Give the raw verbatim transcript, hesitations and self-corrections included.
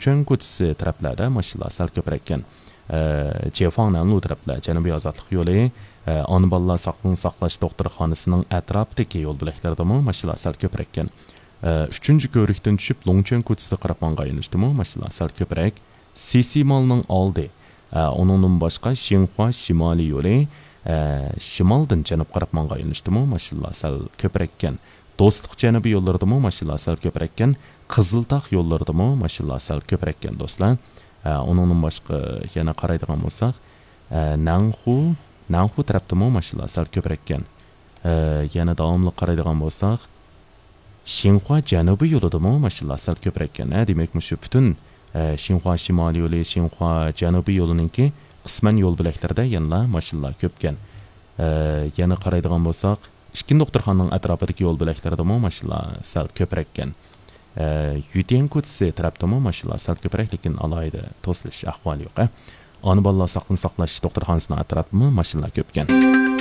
لۇڭچۈەن كوچىسى تەرەپلەردە ماشىنىلار سەل كۆپرەككەن. ئە، جيەفاڭنەنلۇ تەرەپلەر، جەنۇبىي ئازادلىق يولى، ئە، ئانا بالىلار ساقلىقنى ساقلاش دوختۇرخانىسىنىڭ ئەتراپىدىكى يول بۆلەكلىرىدىمۇ ماشىنىلار سەل كۆپرەككەن. ئە، ئۈچىنچى كۆۋرۈكتىن چۈشۈپ، لۇڭچۈەن كوچىسىغا قاراپ ماڭغان يۆنىلىشتىمۇ ماشىنىلار سەل كۆپرەك. سىسى مالنىڭ ئالدى، ئە، ئۇنىڭدىن باشقا شىنخۇا شىمالىي يولى، ئە، شىمالدىن جەنۇبقا قاراپ ماڭغان يۆنىلىشتىمۇ ماشىنىلار سەل كۆپرەككەن. دوستلۇق جەنۇبىي يوللىرىدىمۇ ماشىنىلار سەل كۆپرەككەن. قىزىلتاغ يوللىرىدىمۇ ماشىنىلار سەل كۆپرەككەن، دوستلار. ئە، ئۇنىڭدىن باشقا يەنە قارايدىغان بولساق، ئە، نەنخۇ، نەنخۇ تەرەپتىمۇ ماشىنىلار سەل كۆپرەككەن. ئە، يەنە داۋاملىق قارايدىغان بولساق، شىنخۇا جەنۇبىي يولىدىمۇ ماشىنىلار سەل كۆپرەككەن. ھە، دېمەك، مۇشۇ پۈتۈن، ئە، شىنخۇا شىمالىي يولى، شىنخۇا جەنۇبىي يولىنىڭكى قىسمەن يول بۆلەكلىرىدە يەنىلا ماشىنىلار كۆپكەن. ئە، يەنە قارايدىغان بولساق، ئىككىنچى دوختۇرخانىنىڭ ئەتراپىدىكى يول بۆلەكلىرىدىمۇ ماشىنىلار سەل كۆپرەككەن. ئە، يۈتيەن كوچىسى تەرەپتىمۇ ماشىنىلار سەل كۆپرەك، لېكىن ئالاھىدە توسۇلۇش ئەھۋالى يوق. ئانا بالىلار ساقلىقنى ساقلاش دوختۇرخانىسىنىڭ ئەتراپىدىمۇ ماشىنىلار كۆپكەن.